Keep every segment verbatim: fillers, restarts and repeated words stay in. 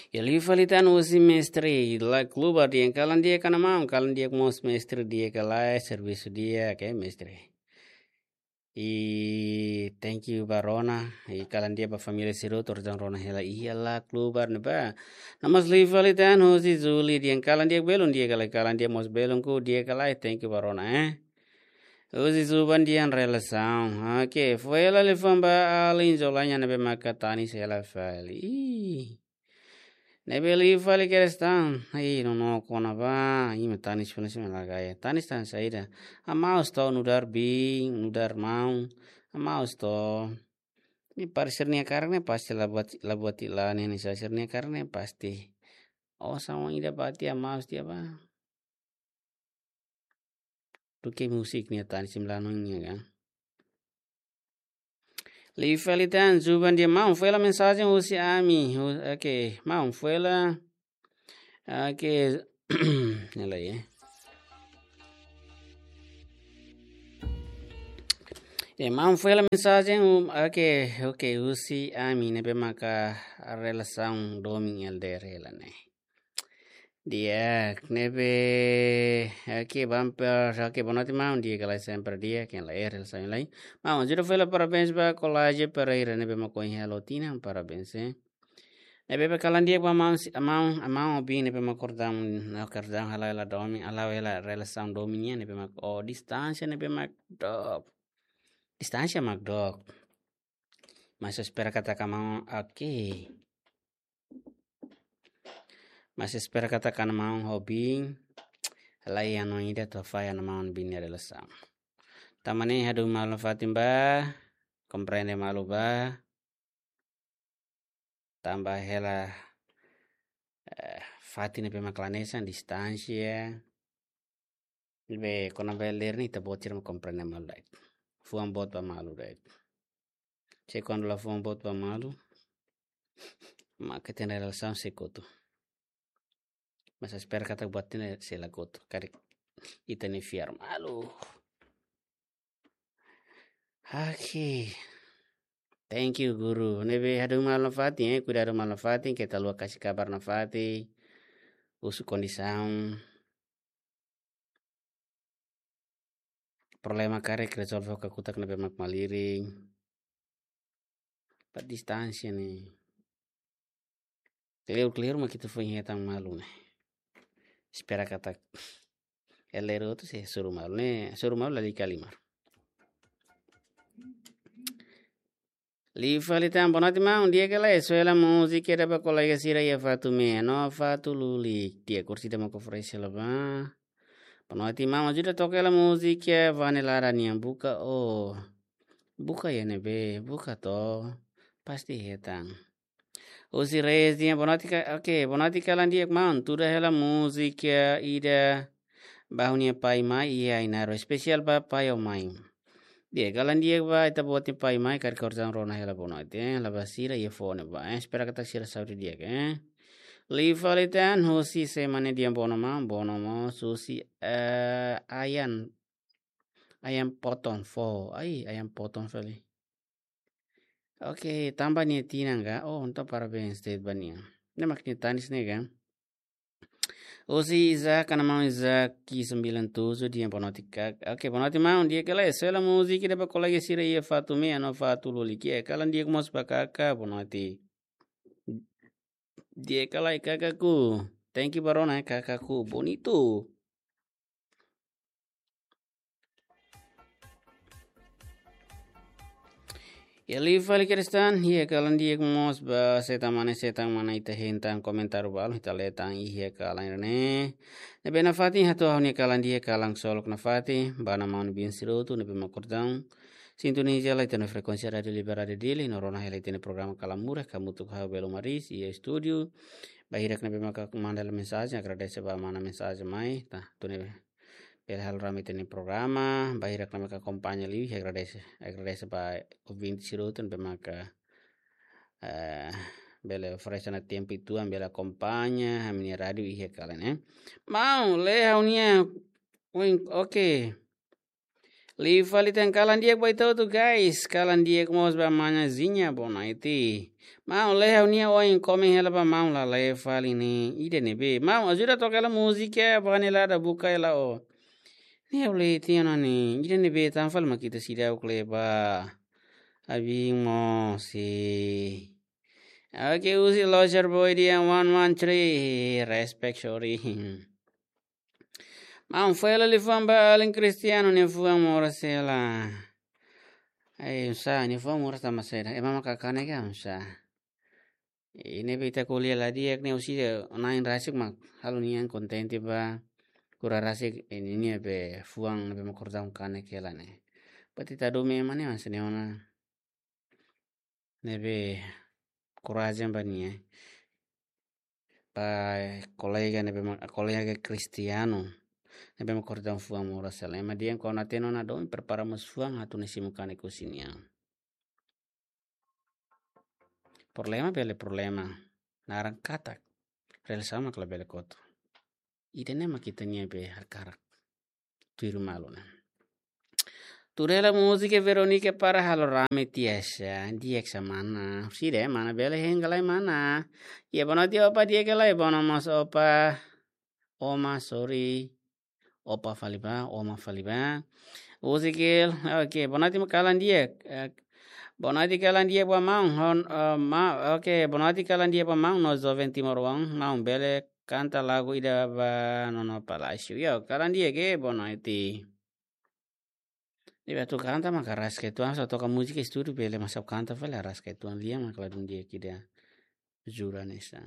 Iha liu fali tan husi mestre, la klubar di'ak, kalan di'ak ka maun, kalan di'ak mós mestre, di'ak ka lae, servisu di'ak, oke mestre. I thank you ba Rona, i kalan di'ak ba família sira hotu, orsida Rona hela iha la klubar ne'ebá. No mós liu fali tan husi Zuli, di'ak kalan di'ak belun, di'ak ka lae, kalan di'ak mós belun ku, di'ak ka lae, thank you ba Rona, eh. Husi Zuban di'ak relasaun. Oke, foin hela liafuan ba alin Zolanya ne'ebé maka tanis hela fali. Ih. Ne'ebé liu fali kedas tan. Ai, no no kona ba. Ima tanis funa sima lagaya. Tanis tan saida. Amaus to nu'udar biin, nu'udar maun. Amaus to. Ne'e para sira-nia karik ne'e pasti la buat, la buat ila ne'e, ne'e sira-nia karik ne'e pasti. Oh, sama ida bati amaus tiha ba. Duké musik nia tanis sim lanu nia kan. Liu fali tan, Zuban di'ak maun, foin hela mensajen husi ami. Hu-, oke, maun, foin hela. Oke, ne'e lai, eh. Ya, maun, foin hela mensajen, um, oke, oke, husi ami ne'ebé maka relasaun domin L D R hela ne'e. Di'ak, ne'ebé, oke, bumper, oke, boa noite, maun, di'ak ka lae sempre di'ak, ken la er, el sai lai. Maun, ajuda foin hela parabéns ba Kolaje Pereira, ne'ebé mak ohin halo tinan, parabéns, eh. Ne'ebé ba kalan di'ak ba maun, si, maun, maun Obin, ne'ebé mak kordam, na kordam hala'o hela domin, hala'o hela relasaun domin nian, ne'ebé mak, oh, distánsia, ne'ebé mak dook. Distánsia mak dook. Mas espera katak maun, oke. Mas espera katak maun Obin, la iha hanoin ida atu falla ona maun Obin nia relasaun. Tanba ne'e hadomi malu nafatin ba, komprende malu ba. Tanba hela, eh, fatin ne'ebé mak la hanesan, distánsia. Be, kona-ba L D R ne'e ita-boot sira mak komprende malu de'it. Fuan boot ba malu de'it. Se kuandu la fuan boot ba malu, maka ita-nia relasaun sei kotu. Mas espera katak buat ne'e sei la kotu. Karik ita-nia fiar malu. Oke. Thank you, guru. Ne'ebé hadomi malu nafatin, eh. Kuidadu malu nafatin, keta haluha kasih kabar nafatin. Husu kondisaun. Problema karik rezolve ho kakutak ne'ebé mak malirin. Ba distánsia ne'e. Kleur-kleur mak ita foin hetan malu ne'e. Espera katak L D R hotu sei hasoru malu ne'e, hasoru malu lalika halimar. Liu fali tan, boa noite, maun, di'ak ka lae, soe hela múzika ida ba kolega sira iha Fatumea no Fatululik, di'ak, orsida mak oferese hela ba. Boa noite, maun, ajuda toka hela múzika Vane Lara nian, Buka O. Buka iha ne'ebé, buka to. Pasti hetan. Husi Reyes di'ak, boa noite ka, oke, boa noite, kalan di'ak maun, tuda hela múzika ida ba ha'u-nia pai mai iha Ainaro, espesiál ba pai ho mai. Di'ak, kalan di'ak ba ita-boot nia pai mai, karik orsida Rona hela boa noite, eh, la ba sira iha fone ba, eh, espera katak sira saúde di'ak, eh. Liu fali tan, husi Semane di'ak, boa noite maun, boa noite maun, husi, eh, Ayan, Ayan Potong fo, ai, Ayan Potong fali. Oke, tanba nia tinan ka? Oh, entaun parabéns de'it ba nia. Ne'e mak nia tanis ne'e ka? Husi Isaac, kanan maun Isaac, ki sembilan tujuh, di'ak, boa noite kaka. Oke, boa noite maun, di'ak ka lae, soe hela múzika ida ba kolega sira iha Fatumea no Fatululik, eh, kalan di'ak mós ba kaka, boa noite. Di'ak ka lae kakaku. Thank you ba Rona, eh, kakaku. Bonito. Iha liu fali kedas tan, iha kalan di'ak mós ba setan mane, setan mane ita hetan komentáriu balu, ita lee tan iha kalan ne'e. Ne'ebé nafatin hato'o ha'u-nia kalan di'ak, kalan ksolok nafatin, ba maun Obin sira hotu ne'ebé mak kordam sintoniza hela ita-nia frekuénsia Rádiu Liberadu Dili, no rona hela ita-nia programa Kalan Murak, hamutuk ho ha'u Belo Maris, iha estúdiu. Ba hirak ne'ebé maka manda hela mensajen, agradese ba mana mensajen mai, ta, tu ne'e bele halo rame ita-nia programa, ba hirak ne'ebé maka akompaña liu, agradese, agradese ba ouvinte sira hotu ne'ebé maka, eh, bele oferese ona tempu ituan bele akompaña ami-nia rádiu iha kalan ne'e. Maun, lee ha'u-nia, win, oke. Liu fali tan, kalan di'ak ba ita hotu guys, kalan di'ak mós ba mana Zinha, boa noite. Maun, lee ha'u-nia oin komen hela ba maun, la lee fali ne'e, ida ne'ebé. Maun, ajuda toka hela múzika, ba ne'e la ada buka hela ó. Ne'e ha'u lee tiha ona ne'e, ida ne'ebé tan fali mak ita seidauk lee ba. Abin mós e. Oke, husi Loser Boy dehan one one three, respect, sorry. Maun, fó hela liafuan ba alin Cristiano nia fuan moras hela. Ai, oinsá, nia fuan moras tanba saida? Ema maka kanek ka, oinsá? Ne'ebé ita ko'alia la di'ak ne'e, husi de nain rasik mak halo nia kontente ba, kura rasik ne'e, nia be fuan ne'ebé mak kordaun kanek hela ne'e. Berarti ita domin ema ne'e mas ne'e ona. Ne'ebé korajen ba nia. Ba kolega ne'ebé mak, kolega Cristiano. Ne'ebé mak kordaun fuan moras hela. Ema dehan kuandu hatene ona domin, prepara mós fuan atu nia simu kanek husi nia. Problema bele problema. Naran katak. Realizasaun mak labele kotu. Ida-ne'e mak ita-nia be hakarak. Tuir malu ne'e. Tuir hela múzika Veronica para halo rame tiha sa, di'ak sa mana. Sira mana bele henggalai mana. Ya, boa noite opa, di'ak ka lae, boa noite mós opa. Oma, sorry. Opa fali ba, oma fali ba. Uzikil, oke, boa noite kalan di'ak. Eh, boa noite kalan di'ak ba maun, hon, eh, ma, oke, boa noite kalan di'ak ba maun, no joven timoroan, maun bele kanta lagu ida ba Nono Palácio. Yo, kalan di'ak, boa noite. Ne'ebé atu kanta maka rasik uitoan, só toka múzika estúdiu bele, mas atu kanta fali rasik uitoan, lia mak ladún di'ak ida. Jura nesa.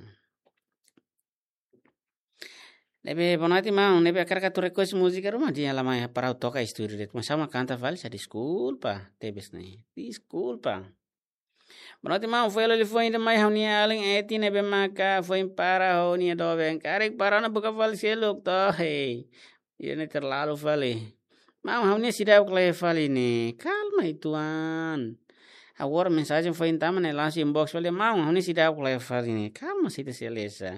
Ne'ebé boa noite maun, ne'ebé hakarak atu request múzika ruma dehan la mai para ha'u toka estúdiu de'it. Mas ha'u mak kanta fali sa, deskulpa, tebes ne'e. Deskulpa. Boa noite maun, fó hela liafuan ida mai ha'u-nia alin Eti ne'ebé maka foin para ho nia doben. Karik para ona buka fali seluk to, hei. Ida-ne'e terlalu fali. Maun, ha'u-nia seidauk lee fali ne'e. Kalma uitoan. Agora mensajen foin tama ne'e langsung inbox fali. Maun, ha'u-nia seidauk lee fali ne'e. Kalma, sei ita sei lee sa.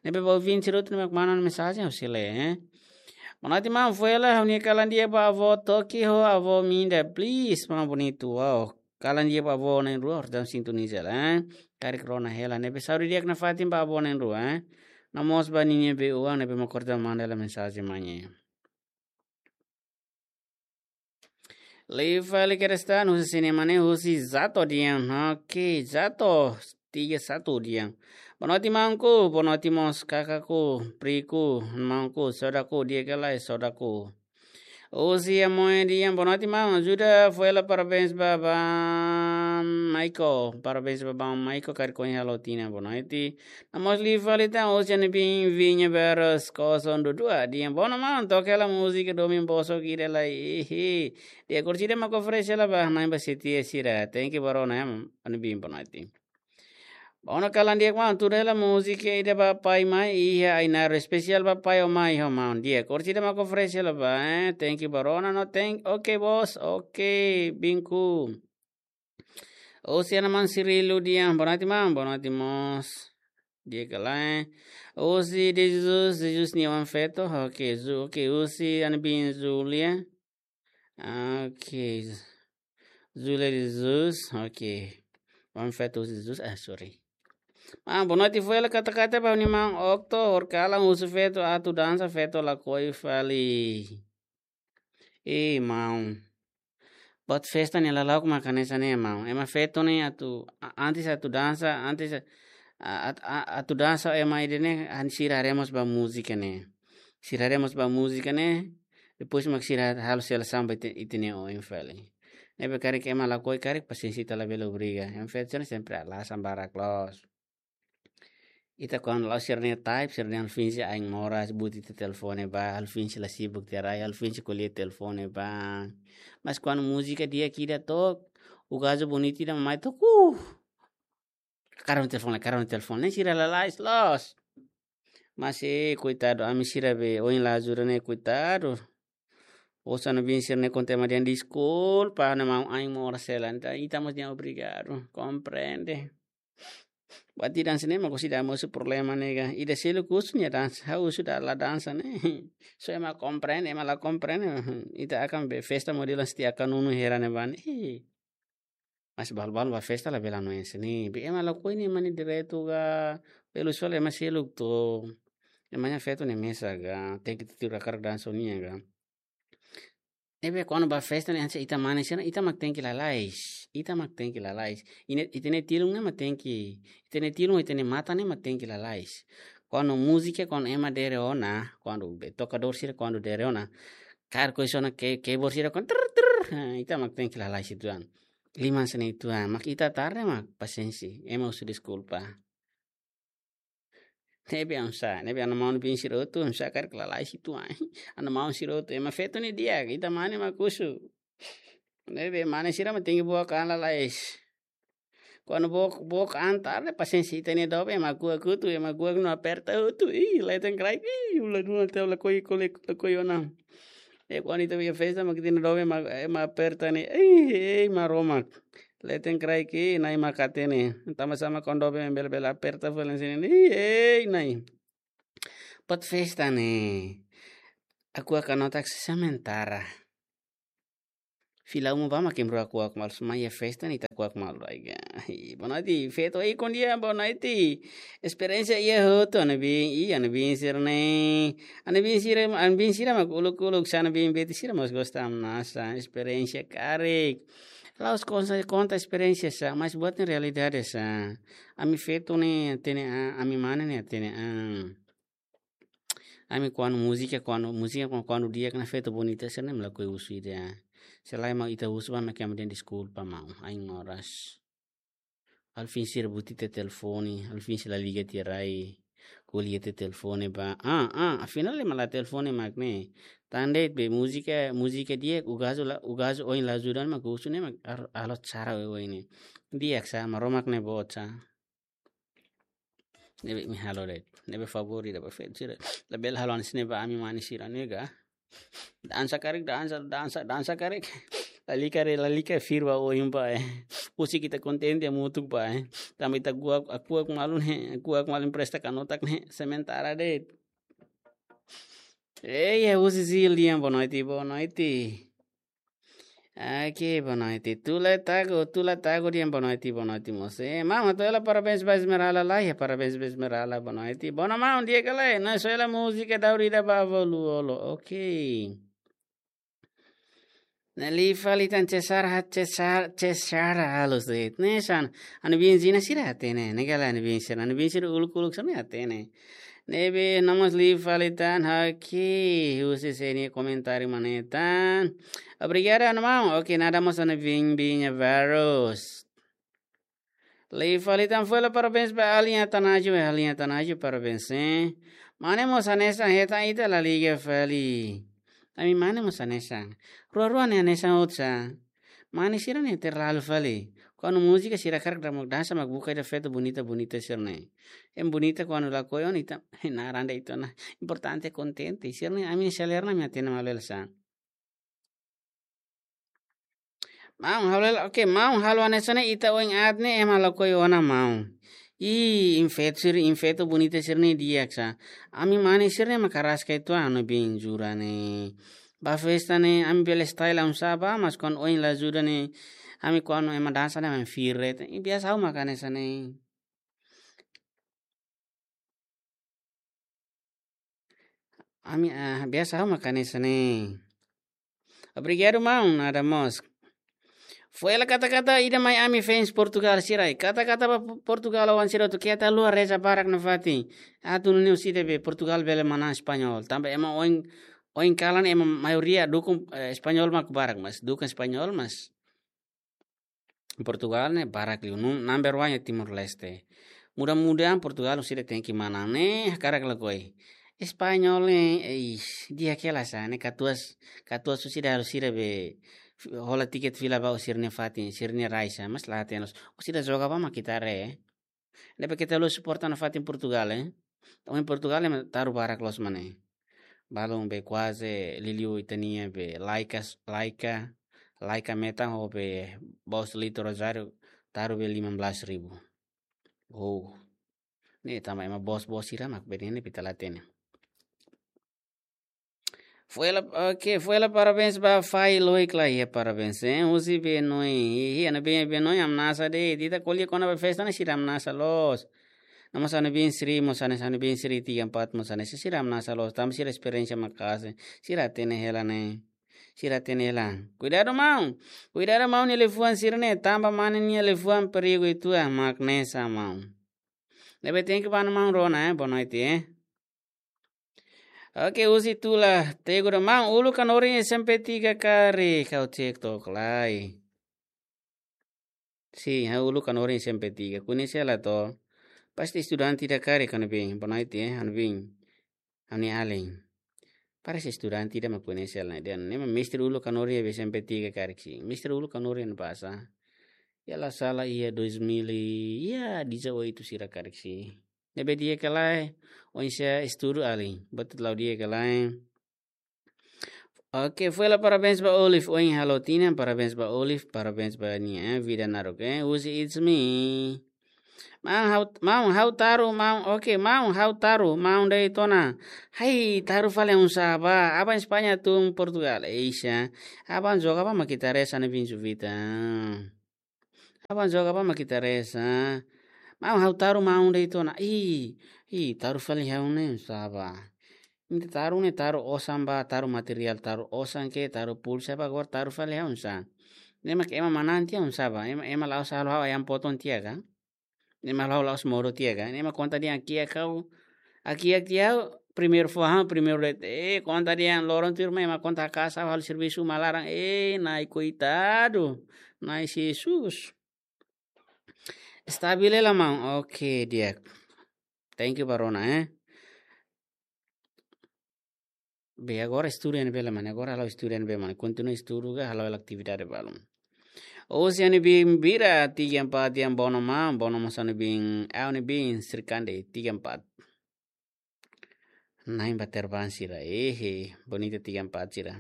Ne'ebé ba ouvinte sira hotu ne'ebé mak manda mensajen ha'u sei lee, eh. Boa noite maun, fó hela ha'u-nia kalan di'ak ba avó Toki ho avó Minda, please, maun bonitu. Wow. Kalan di'ak ba avó na'in-rua, horta sintoniza hela, eh. Karik rona hela, ne'ebé saúde di'ak nafatin ba avó na'in-rua, eh. No mós ba ninia be-oan ne'ebé mak kordaun manda hela mensajen mai ne'e. Liu fali kedas tan, husi sini mane, husi Zato dehan. Oke, Zato, tiga satu dehan. Boa noite maunku, boa noite mós kakaku, priku, maunku, sodaku, di'ak ka lae sodaku. Husi Amoy dehan, boa noite maun, ajuda fó hela parabéns ba Bam Maiko. Parabéns ba Bam Maiko, karik ohin halo tinan, boa noite. No mós liu fali tan, husi Anibin Vinha Barros, kosong dua dua. Dehan, boa noite maun, toka hela múzika domin bosok ida lai, ihi. Di'ak, orsida mak oferese hela ba na'in-rua sira. Thank you ba rona, Anibin, boa noite. Boa noite kalan di'ak maun, tuir hela múzika ida ba pai mai iha Ainaro, espesiál ba pai ho mai ho maun. Di'ak, orsida mak oferese hela ba, eh. Thank you ba rona, no thank, oke bos, oke, binku. Husi Ana Maun Cirilo dehan, boa noite maun, boa noite mós. Di'ak ka lae. Husi De Jesus, De Jesus nia oan-feto, oke, Ju-, oke, husi Anibin Julia. Oke. Julia de Jesus, oke. Oan-feto husi Jesus, ah, sorry. Ah, boa noite, fó hela katak-katak ba ha'u-nia maun Okto, horikalan husu feto atu dansa, feto lakohi fali. Eh, maun. Buat festa ne'e lala'ok mak hanesan ne'e, maun. Ema feto ne'e atu, a-, antes atu dansa, antes a-, a-, at-, a-, atu dansa ema ida-ne'e, han sira haree mós ba múzika ne'e. Sira haree mós ba múzika ne'e, depois mak sira halo selesaun ba ita, ita-nia oin fali. Ne'ebé karik ema lakohi karik pasiénsia ita labele obriga. Ema feto ne'e sempre alasan barak loos. Ita kuandu la'o sira-nia type, sira-nia halo finje ain moras, buti ita telefone ba, halo finje la sibuk tiha rai, halo finje ko'alia telefone ba. Mas kuandu múzika di'ak ida to'o, o gajo bonitu ida mai to'o, uh! Karau telefone, karau telefone, ne'e sira lalais loos. Mas, eh, koitadu, ami sira be, ohin la ajuda ne'e, koitadu. Osan bin sira-ne'e konta ema dehan deskulpa, ne'e maun ain moras hela, entaun ita mós dehan obrigadu, komprende. Buat ida hanesan ne'e mak husi ida mosu problema ne'e ka. Ida seluk husu nia dansa, ha'u husu ida la dansa ne'e. So ema komprende, ema la komprende. Ita akan be festa modelu hanesan tiha kanunu hera ne'ebá ne'e. Mas balu-balu ba festa labele hanoin hanesan ne'e. Be ema lakohi ne'e ema nia direitu ka. Be lusu fali ema seluk to. Ema nia feto ne'e mesak ka. Tenke tuir hakarak dansa ho nia ka. Ne'ebé kuandu ba festa ne'e hanesan ita mane sira, ita mak tenke lalais. Ita mak tenke lalais. Ine, ita-nia tilun ne'e mak tenke, ita-nia tilun, ita-nia matan ne'e mak tenke lalais. Kuandu múzika, kuandu ema dere ona, kuandu be tokadór sira, kuandu dere ona. Kaer koisa ona ke, keyboard sira kuandu trrr, trrr. Ha, ita mak tenke lalais uitoan. Liman hanesan ne'e uitoan. Mak ita tarde mak pasiénsia. Ema husu deskulpa. Ne'ebé hanesan, ne'ebé ha'u-nia maun-bin sira hotu, hanesan karik lalais uitoan. Ha'u-nia maun sira hotu, ema feto ne'e di'ak, ita mane mak husu. Ne'ebé mane sira mak tenke book an lalais. Kuandu book, book an tarde pasiénsia ita-nia doben ema kuak hotu, ema kuak no aperta hotu. Ih, leten kraik, ih, ula duna teu lakohi, kole, lakohi ona. E kuandu ita ba iha festa mak ita-nia doben ema, ema aperta ne'e. Ei, ei, Maromak. Leten kraik, ei, Na'i mak hatene. Tanba sá mak kuandu doben bele-bele aperta fali hanesan ne'e. Ei, ei, Na'i. Buat festa ne'e. Aku akan notak sementara. Fila uma ba mak kemru aku, aku malu, só mai iha festa ne'e ita kuak malu ai ga. Ih, boa noite, feto. Ei, bom dia, boa noite. Esperiénsia iha hotu, ha'u-nia bin, ih, ha'u-nia bin sira ne'e. Ha'u-nia bin sira, ha'u-nia bin sira mak uluk-uluk, sá ha'u-nia bin beti sira mós gosta hamnasa, esperiénsia karik. La'ós konta, konta esperiénsia sá, mas buat ne'e realidade sá. Ami feto ne'e hatene an, ami mane ne'e hatene an. Ami kuandu múzika, kuandu múzika, kuandu, kuandu di'ak ona feto bonita sira ne'e mak lakohi husu ida. Se lae maun ita husu ba mak ema dehan deskulpa maun, ain oras. Alvin sira buti tiha telefone, Alvin sira la liga tiha rai, ko'alia tiha telefone ba. Ah, ah, afinál ema la telefone mak ne'e. Tan de'it be múzika, múzika di'ak, o gajo la, o gajo oin la ajuda ona mak husu ne'e mak ar-, alot sara oioin ne'e. Di'ak sá, Maromak ne'e boot sá. Ne'ebé imi halo de'it. Ne'ebé favór ida ba feto sira. Labele halo hanesan ne'e ba ami mane sira ne'e ka. Dansa karik, dansa, dansa, dansa karik. Lalika re, lalika fir ba oin ba, eh. Husik ita kontente hamutuk ba, eh. Tanba ita kuak, kuak malu ne'e, kuak malu empresta kanotak ne'e, sementara de'it. Ei, eh, husi Zil dehan boa noite, boa noite. Oke, boa noite. Tula Tago, Tula Tago dehan boa noite, boa noite mós. Eh, maun, hato'o hela parabéns ba Esmeralda lai, eh, parabéns ba Esmeralda, boa noite. Boa noite, maun, di'ak ka lae? Nai soe hela múzika daur ida ba Avó Lu Olo. Oke. Ne'e liu fali tan Cesar ha-, Cesar, Cesar halo sét. Ne'e hanesan, ha'u-nia bin sira sira hatene. Ne'e ka lae ha'u-nia bin sira, ha'u-nia bin sira uluk-uluk sira ne'e hatene. Ne'ebé no mós liu fali tan, oke, husi sé nia komentáriu mak ne'e tan. Obrigadu, ha'u-nia maun. Oke, nada mós ha'u-nia bin, bin nia barus. Liu fali tan, foin hela parabéns ba Alin Atanasio, eh, Alin Atanasio, parabéns, eh. Mane mós hanesan hetan ita la liga fali. Ami mane mós hanesan. Rua-rua ne'e hanesan hotu sá. Mane sira ne'e terlalu fali. Kuandu múzika sira hakarak mak dansa mak buka ida feto bonita-bonita sira ne'e. Ema bonita kuandu lakohi ona ita, naran de'it ona. Importante kontente. Sira ne'e ami selera ne'e ami hatene malu hela sá. Maun, halo hela, oke, maun, halo hanesan ne'e ita oin aat ne'e ema lakohi ona maun. Ih, imi feto sira, imi feto bonita sira ne'e di'ak sá. Ami mane sira ne'e mak araska uitoan, ha'u-nia bin jura ne'e. Ba festa ne'e, ami bele style oinsá ba, mas kuandu oin la ajuda ne'e, ami kuandu ema dansa ne'e, ami fir de'it. Ih, biasa ha'u mak hanesan ne'e. Ami, ah, biasa ha'u mak hanesan ne'e. Obrigadu, maun, nada mós. Foin hela kata-kata ida mai ami fans Portugal sira. Kata-kata ba Portugal oan sira hotu, keta haluha reza barak nafatin. Atu nune'e husi ida be Portugal bele manán Espanhol. Tanba ema oin, oin kalan ema maioria dukung, eh, Espanhol mak barak mas. Dukung Espanhol mas. Portugal ne'e barak liu, nu-, number one iha Timor-Leste. Mudah-mudahan Portugal husi ida tenke manán ne'e, hakarak lakohi. Espanhol ne'e, eh, ih, di'ak hela sá, ne'e katuas, katuas husi ida halo sira be, fi-, hola tiket fila ba sira-nia fatin, sira-nia rai sá, mas la hatene loos. Husi ida joga ba mak ita haree. Ne'ebé keta haluha suporta nafatin Portugal, eh. Tanba Portugal ne'e taru barak loos mak ne'e. Balun be kuaze liuliu ita-nia be laikas, laika, laika metan ho be Boslito Rosário taru be lima belas ribu. Oh. Ne'e tanba ema bos-bos sira mak bene ne'e ita la hatene. Foin hela, oke, foin hela parabéns ba Fai Loik la iha parabéns, eh. Husi Benoi, iha, iha, ha'u-nia biin, Benoi hamnasa de'it. Ita ko'alia kona-ba festa ne'e sira hamnasa loos. No mós ha'u-nia biin Sri, mós hanesan ha'u-nia biin Sri tiga empat, mós hanesan sira hamnasa loos. Tanba sira esperiénsia maka'as, sira hatene hela ne'e. Sira hatene hela. Kuidadu maun. Kuidadu maun nia liafuan sira-ne'e, tanba mane nia liafuan perigu uitoan mak ne'e sá maun. Ne'ebé thank you ba maun Rona, eh, boa noite, eh. Oke, husi Tula, Teguda, maun, uluk hanorin S M P tiga karik, ha'u cek tok lai. Sin, ha'u uluk hanorin S M P tiga, koñese hela to. Pasti estudante ida karik ha'u-nia biin, boa noite, eh, ha'u-nia biin. Ha'u-nia alin. Parese estudante ida mak koñese hela, dehan ne'e mak mestre uluk hanorin iha S M P tiga karik sin. Mestre uluk hanorin iha ne'ebá sá. Ya la sala iha dois mil e, iha dezoito sira karik sin. Ne'ebé di'ak ka lae, oinsá estudu alin. Betul la'o di'ak ka lae. Oke, foin hela parabéns ba Olive. Ohin halo tinan, parabéns ba Olive, parabéns ba nia, eh, vida naruk, eh. Husi It's Me. Maun ha'u, maun ha'u taru, maun, oke, maun ha'u taru, maun de'it ona. Hai, taru fali oinsá bá, aban España tun Portugal, eixa. Aban joga bá mak ita reza ne'e bin juvita. Aban joga bá mak ita reza. Maun ha'u taru maun de'it ona. Ih, ih, taru fali ha'u ne'e oinsá bá. Ita taru ne'e taru osan bá, taru materiál, taru osan ka, taru pulsa bá, agora taru fali ha'u oinsá. Ne'e mak ema manán tiha oinsá bá. Ema, ema la'ós halo ha'u ayam potong tiha ka. Ne'e mak ha'u la'ós modo tiha ka. Ne'e mak konta dehan kiak ha'u. Kiak tiha ha'u, primeiru fó ha'u, primeiru de'it. Eh, konta dehan loron tuirmai ema konta haka'as ha'u halo servisu uma laran. Eh, Na'i koitadu. Na'i Jesus. Estabil hela maun. Oke, di'ak. Thank you ba Rona, eh. Be agora estudu iha ne'ebé lai mane, agora halo estudu iha ne'ebé mane, kontinua estudu ka halo atividade balun. Husi ha'u-nia biin Bira, tiga empat, yang bono maun, bono mós ha'u-nia biin, ha'u-nia biin Srikande, tiga empat. Na'in ba terbang sira, ehe, bonita tiga empat sira.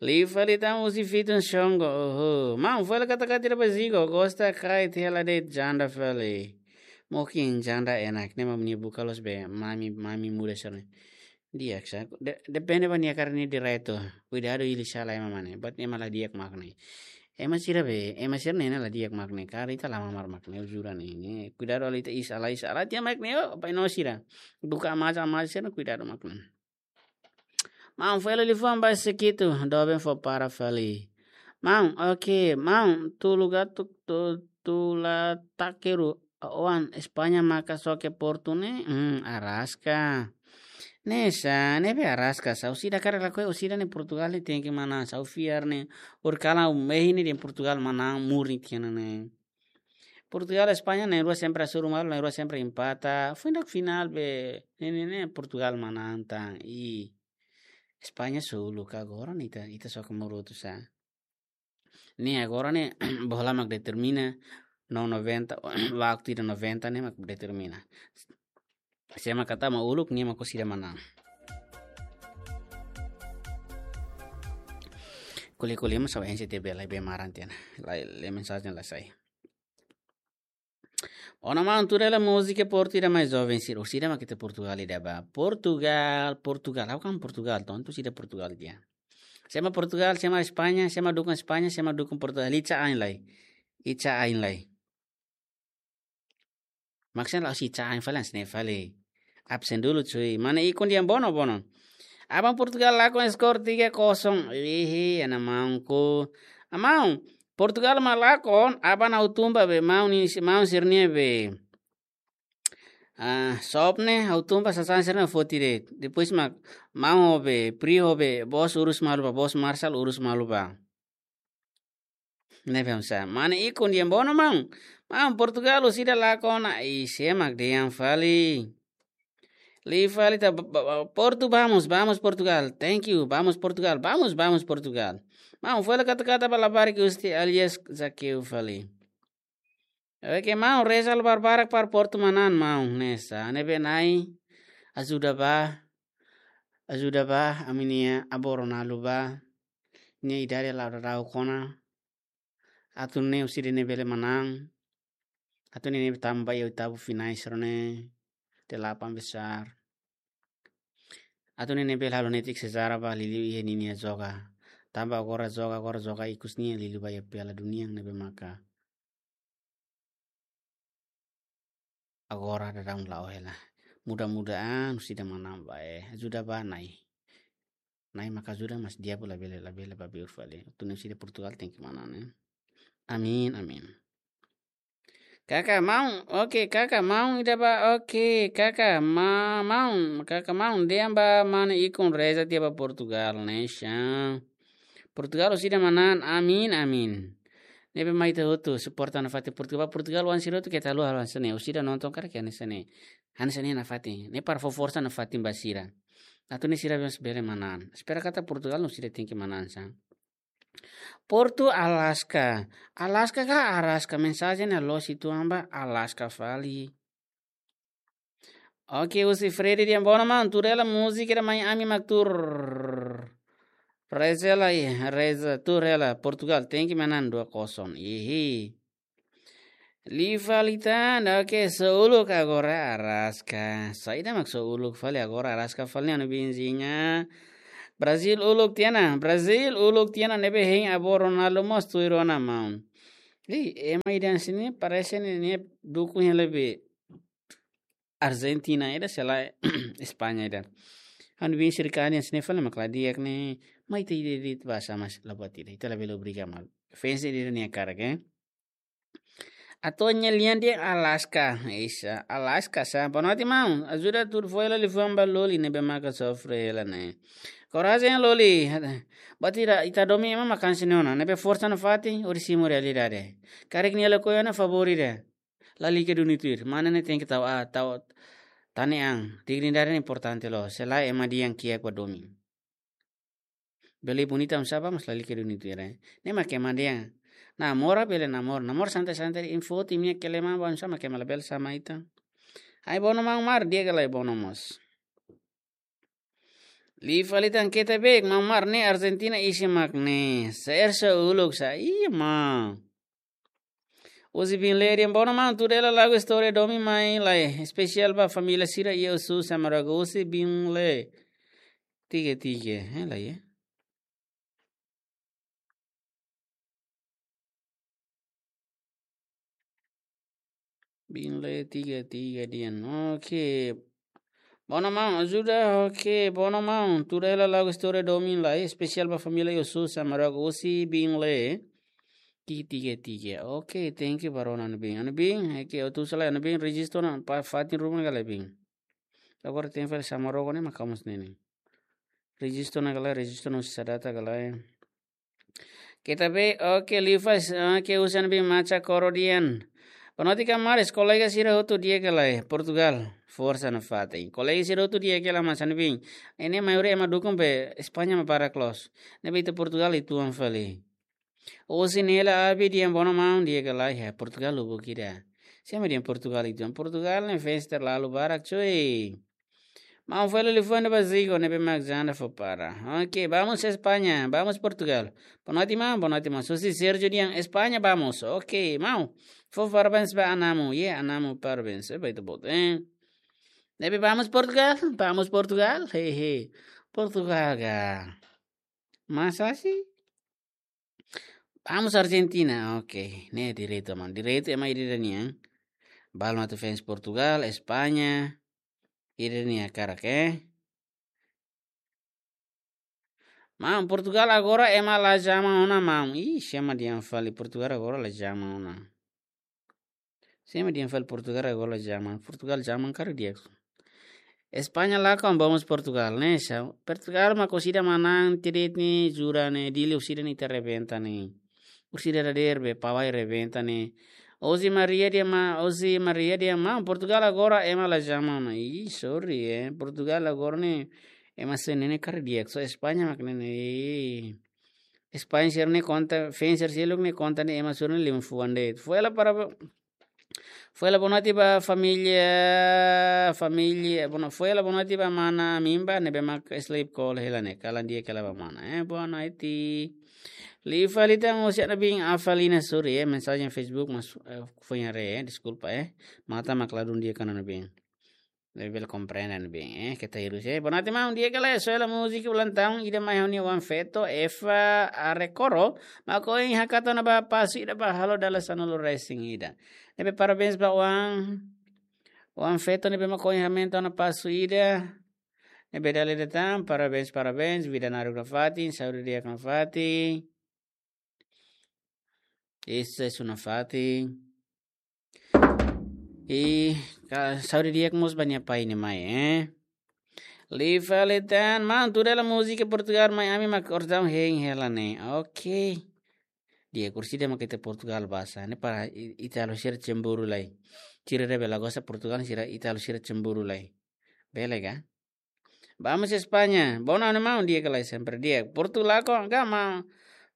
Liu fali tan husi Fitun Shongo, oho. Maun, foin hela kata-kata ida ba Zigo, gosta kait hela de'it janda fali. Mokin janda enak, ne'e mak nia buka loos be, mami, mami muda sira-ne'e. Di'ak sá, de-, depende ba nia hakarak nia direitu. Kuidadu hili sala ema mane, buat ema la di'ak mak ne'e. Ema sira be, ema sira-ne'e la di'ak mak ne'e, karik ita la mamar mak ne'e, jura ne'e, ne'e. Kuidadu halo ita iis sala, iis sala, tiha mak ne'e, oh, pai no sira. Buka amaja, amaja sira, kuidadu mak ne'e. Maun, foin hela liafuan ba Sekitu, doben fó para fali. Maun, oke, maun, Tula Gatu, Tu-, Tula Takeru, oan, España maka xoke Portu ne'e, hmm, araska. Ne'e sá, ne'ebé araska sá, orsida karik lakohi, orsida ne'e Portugal ne'e tenke manán, sá, ha'u fiar ne'e, orsida kalan ha'u mehi ne'e dehan Portugal manán, murni tiha ona ne'e. Portugal, España, na'in-rua sempre hasoru malu, na'in-rua sempre empata. Foin ida finál be, ne'e, ne'e, ne'e, Portugal manán tan. I España solu ka agora ne'e ita, ita xoke Marotu sá. Ne'e agora ne'e, bola mak determina, no noventa, waktu ida noventa ne'e mak determina. Sé mak tama uluk, nia mak orsida manán. Ko'alia-ko'alia mak sá N C T B lai be maran tiha ona. Lai, lai mensajen la sai. Ona maun, tuir hela múzika Portu ida mai joven sira, orsida mak ita Portugal ida bá. Portugal, Portugal, ha'u kan Portugal, tontu orsida Portugal tiha. Sé mak Portugal, sé mak España, sé mak dukung España, sé mak dukung Portugal, ica ain lai. Ica ain lai. Maksudnya la si cai fali, hanesan ne'e fali. Absen dulu, cuy. Mana ikun dia bono, bono. Aban Portugal lakon skor tiga kosong. Ihi, ana maunku. Amaun, Portugal mak lakon, aban ha'u tun ba be, maun ne'e, maun sira-nia be. Ah, sop ne'e, ha'u tun ba sasán sira-ne'e foti de'it. Depois mak, maun ho be, Pri ho be, bos urus malu bá, bos Marshall urus malu bá. Ne'ebé oinsá. Mana ikun dia bono maun. Maun Portugal orsida lakon ona. I sé mak dehan fali. Liu fali ta ba-, ba-, ba-, Portu vamos, vamos Portugal. Thank you, vamos Portugal, vamos, vamos Portugal. Maun foin hela kata-kata ba Labarik Usti alias Zakeu fali. Oke, maun, reza halo barbarak para Portu manán, maun, hanesan ne'ebé Na'i ajuda bá, ajuda bá, ami-nia avó Ronaldo bá, nia idade la'o daudauk ona, atu nune'e orsida nia bele manán, Atu nune'e tama ba iha oitavu finais rone, delapan besar. Atu nune'e bele halo netik sezara ba liuliu iha ninia joga. Tanba agora joga, agora joga ikus nia liuliu ba iha Piala Dunia ne'ebé maka agora daudaun la'o hela. Mudah-mudahan orsida manán ba, eh, ajuda ba Na'i. Na'i maka ajuda, mas di'ak labele, labele ba beur fali. Atu nune'e orsida Portugal tenke manán, eh. Amin, amin. Kaka maun, oke, kaka maun ida ba, oke, kaka ma-, maun, kaka maun dehan ba mana ikun reza tiha ba Portugal, ne'e sá. Portugal orsida manán, amin, amin. Ne'ebé mai ita hotu suporta nafatin Portugal, Portugal oan sira hotu keta haluha hanesan ne'e, orsida nonton karik hanesan ne'e. Hanesan ne'e nafatin, ne'e para fó forsa nafatin ba sira. Atu nune'e sira bele manán. Espera katak Portugal no sira tenke manán sá. Portu Alaska. Alaska ka Araska? Mensajen ne'e loos uitoan ba Alaska fali. Oke, husi Freddy dehan bono maun, tuur hela múzika ida mai ami mak tuur. Reza lai, reza, tuur hela Portugal, tenke manán dua kosong. Ihi. Liu fali tan, oke, só uluk agora Araska. Saida mak só uluk fali agora Araska fali, anu Binzinha. Brazil uluk tiha ona, Brazil uluk tiha ona, ne'ebé hein avó Ronaldo mós tuir ona maun. Ih, ema ida hanesan ne'e parese ne'e, ne'e dukun hela be Argentina ida, se lae España ida. Anu Bin sirkani hanesan ne'e fali mak la di'ak ne'e, mai ita ida de'it ba sá, mas la buat ida, ita labele obriga malu. Fans ida nia hakarak, eh. Atu nune'e lian dehan Alaska. Isa, Alaska sá. Boa noite, maun. Ajuda tuur fó hela liafuan ba Loli ne'ebé maka sofre hela ne'e. Korajen Loli. Buat ida, ita domin ema mak hanesan ne'e ona. Ne'ebé forsa nafatin, hodi simu realidade. Karik nia lakohi ona favór ida. Lalika duni tuir. Mana ne'e tenke tau, ah, tau, tane an. Dignidade ne'e importante loos. Se lae ema dehan kiak ba domin. Bele bonita oinsá ba, mas lalika duni tuir, eh. Ne'e mak ema dehan namora, bele namora. Namora santai-santai, info ti minha kelema ba oinsá mak ema labele sama ita. Ai bono maun, mar di'ak ka lae bono mós. Liu fali tan keta bek, maun, mar ne'e Argentina isin mak ne'e. Sersa uluk sá, iya maun. Husi Bin Lé dehan bono maun, tuur hela lagu istória domin mai lai. Espesiál ba família sira iha Osu, Samaraga, husi Bin Lé. Tiga tiga, eh, lai, eh. Bin Lé tiga tiga dehan. Oke. Bono maun, ajuda, oke, bono maun. Tuur hela lagu istória domin lai, espesiál ba família Osu, Samaraga, husi Bin Lé. Tiga tiga tiga. Oke, thank you ba rona anu Bin. Anu Bin, oke, atu sala anu Bin, rejistu ona ba fatin ruma ka lae Bin. Agora tenke fali Samaraga ne'e mak hamoos ne'e ne'e. Rejistu ona ka lae, rejistu ona husi Sadata ka lae. Keta bek, oke, liu fali, oke, husi anu Bin Macha Koro dehan. Boa noite, kamaras, kolega sira hotu di'ak ka lae, Portugal, forsa nafatin. Kolega sira hotu di'ak ka lae, mas anu Bin. Ne'e maioria ema dukun be España mak barak loos. Ne'ebé ita Portugal uitoan fali. Husi Nela Abi dehan bono maun, di'ak ka lae, ya, Portugal lubuk ida. Sé mak dehan Portugal uitoan. Portugal ne'e fans terlalu barak, cuy. Maun fó hela liafuan ba Zico, ne'ebé mak janda fó para. Oke, vamos España, vamos Portugal. Boa noite, maun, boa noite, maun. Husi Sergio dehan España, vamos. Oke, maun. Fó parabéns ba Anamu, ye, Anamu, parabéns. Eh, ba ita-boot, eh. Ne'ebé vamos Portugal, vamos Portugal, hehe. Portugal ka. Masa sih? Vamos Argentina, oke. Ne'e direitu, maun. Direitu ema ida-idak nian. Balu atu fans Portugal, España. Ida-idak nia hakarak, eh. Maun, Portugal agora ema la jaman ona, maun. Ih, sé mak dehan fali Portugal agora la jaman ona. Sé mak dehan fali Portugal agora la jaman. Portugal jaman karik di'ak. España lakon, vamos Portugal, ne'e sá. Portugal mak orsida manán, tiha de'it ne'e, jura ne'e, Dili orsida ne'e ita rebenta ne'e. Orsida dadeer be, Pawai rebenta ne'e. José Maria dehan maun, José Maria dehan maun, Portugal agora ema la jaman ona. Ih, sorry, eh. Portugal agora ne'e ema sira-ne'e karik di'ak. Só España mak ne'e ne'e. Ih. España sira-ne'e konta, fans sira seluk ne'e konta ne'e ema sira-ne'e liman fuan de'it. Fó hela para, fó Foin hela boa noite ba família, família, boa no-, foin hela boa noite ba mana Mimba, ne'ebé mak sleep call hela ne'e, kalan di'ak hela ba mana, eh, boa noite. Liu fali tan husi Ana Bin Afalina Suri, eh, mensajen Facebook mas, eh, foin haree, eh, deskulpa, eh. Matan mak ladún di'ak ona Ana Bin. Ne'ebé bele komprende ne'ebé, eh, keta hirus, eh. Boa noite, maun, di'ak ka lae, soe hela múzika ulang tahun ida mai ha'u-nia oan-feto, Eva Arekoro, mak ohin hakat ona ba pasu ida ba halo dala sanulu-resin-ida. Ne'ebé parabéns ba oan, oan-feto ne'ebé mak ohin hamenta ona pasu ida. Ne'ebé dala ida tan, parabéns, parabéns, vida naruk nafatin, saúde di'ak nafatin. Susesu nafatin. I ka-, saúde di'ak mós ba nia pai nia mai, eh. Liu fali tan, maun, tuda hela múzika Portugal mai ami mak kordão hein hela ne'e. Oke. Di'ak, orsida mak ita Portugal basa. Ne'e para i-, ita halo sira cemburu lai. Sira ne'ebé la gosta Portugal, sira ita halo sira cemburu lai. Bele ka? Vamos España. Boa noite, maun, di'ak ka lae, sempre di'ak. Portugal ko, ka ma-,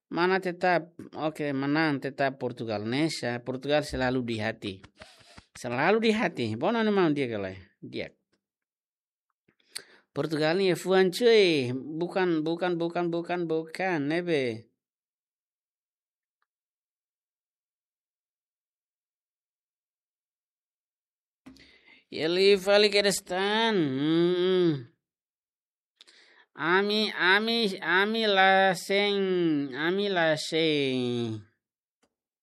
mana tetap, oke, mana tetap Portugal, ne'e sa, Portugal selalu di hati. Selalu di hati. Boa noite, maun, di'ak ka lae. Di'ak. Portugal ne'e fuan cuy. Bukan, bukan, bukan, bukan, bukan. Ne'ebé. Liu fali kedas tan. Hmm. Ami, ami, ami la sein, ami la sein.